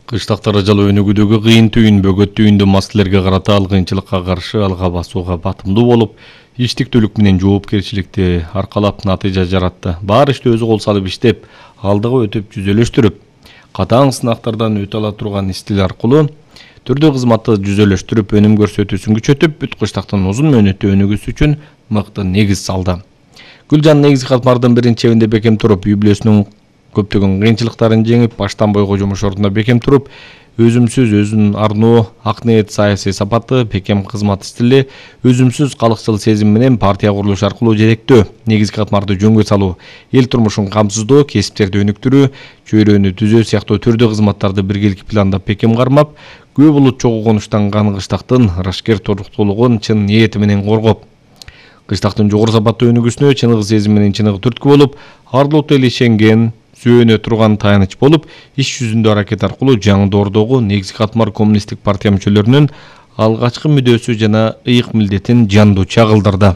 Кыштактар ажал өнүгүүдөгү кыйын түйүн бөгөт түйүндүү маселелерге карата ал кыйынчылыкка каршы алга басууга батымдуу болуп, иштиктүүлүк менен жоопкерчиликти аркалап натыйжа жаратты. Баары ишти өзү кол салып иштеп, алдыга өтүп жүзөлөштүрүп, катаң сынактардан өтө ала турган стиль аркылуу түрдүү кызматты жүзөлөштүрүп, өнүм көрсөтүүсүн күчөтүп, бүт кыштактын узун мөөнөттүү өнүгүүсү үчүн мыкты негиз салды. Гүлжан негизги катмардын биринчи бекем туруп, үй бүлөсүнүн көптөгөн кыйынчылыктарын жеңип, баштан бойго жумуш ордуна бекем туруп, өзүмсүз өзүн арноо, ак ниет, саясий сапаты, бекем кызмат стили, өзүмсүз калыкчыл сезим менен партия курулушу аркылуу жетектөө, негизги катмарды жөнгө салуу, эл турмушун камсыздоо, кесиптерди өнүктүрүү, чөйрөнү түзөө сыяктуу түрдүү кызматтарды биргеликти пландап бекем кармап, көп улут чогуу конуштанган кыштактын ырашкер туруктуулугун чын ниети менен коргоп, кыштактын жогору сапаттуу өнүгүүсүнө чыныгы сезим менен чыныгы түрткү болуп, арлуу эл ишенген, сүйөнө турган таяныч болуп, иш жүзүндө аракет аркылуу жаңы доордогу негизги катмар коммунисттик партия мүчөлөрүнүн алгачкы мүдөөсү жана ыйык милдетин жандуу чагылдырды.